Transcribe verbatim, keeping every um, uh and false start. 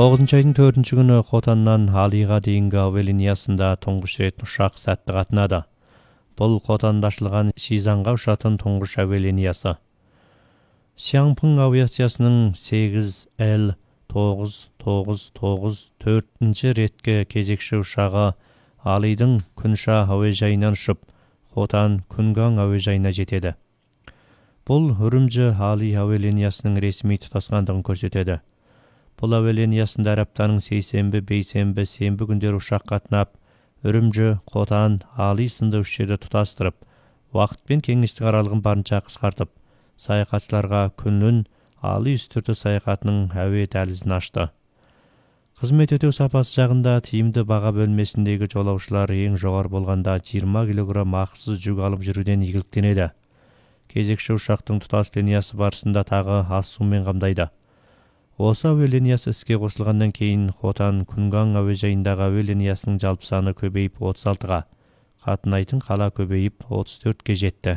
тогузунчу айдын төртүнчү күнү Хотандан Алийга дейинги аба линиясында туңгуч рет учак сәттүү катнады. Бул Хотандашылган Шизанга учатын туңгуч аба линиясы. Сиаңпың авиациясынын сегиз Л тогуз тогуз тогуз төртүнчү ретке кезекши учагы Алийдин Күнша аба жайынан учуп, Хотан Күнган аба жайына жетеди. Бул Үрүмчү Алий аба линиясынын ресмий тутаскандыгын көрсөтөдү. Бул аба линиясында аптанын сейсенби, бейсенби, сенби күндөрү учак катнап, Үрүмчү, Хотан, Алий сынды үч жерде туташтырып, убакыт менен кеңештик аралыгын барынча кыскартып, саякатчыларга күнүнүн Алий үстүртү саякатынын аба дализин ачты. Кызмет өтөө сапасы жагында тийимди бага бөлмесиндеги жолоочулар эң жогору болгондо жыйырма килограмм акысыз жүк алып жүрүүдөн ийгиликтенеди. Кезекши учактын туташ линиясы барысында тагы ас суу менен камдайды. Осы аба линиясы иске кошулгандан кийин Хотан Күнган аба жайындагы аба линиясынын жалпы саны көбөйүп отуз алтыга, катнайтын кала көбөйүп отуз төрткө жетти.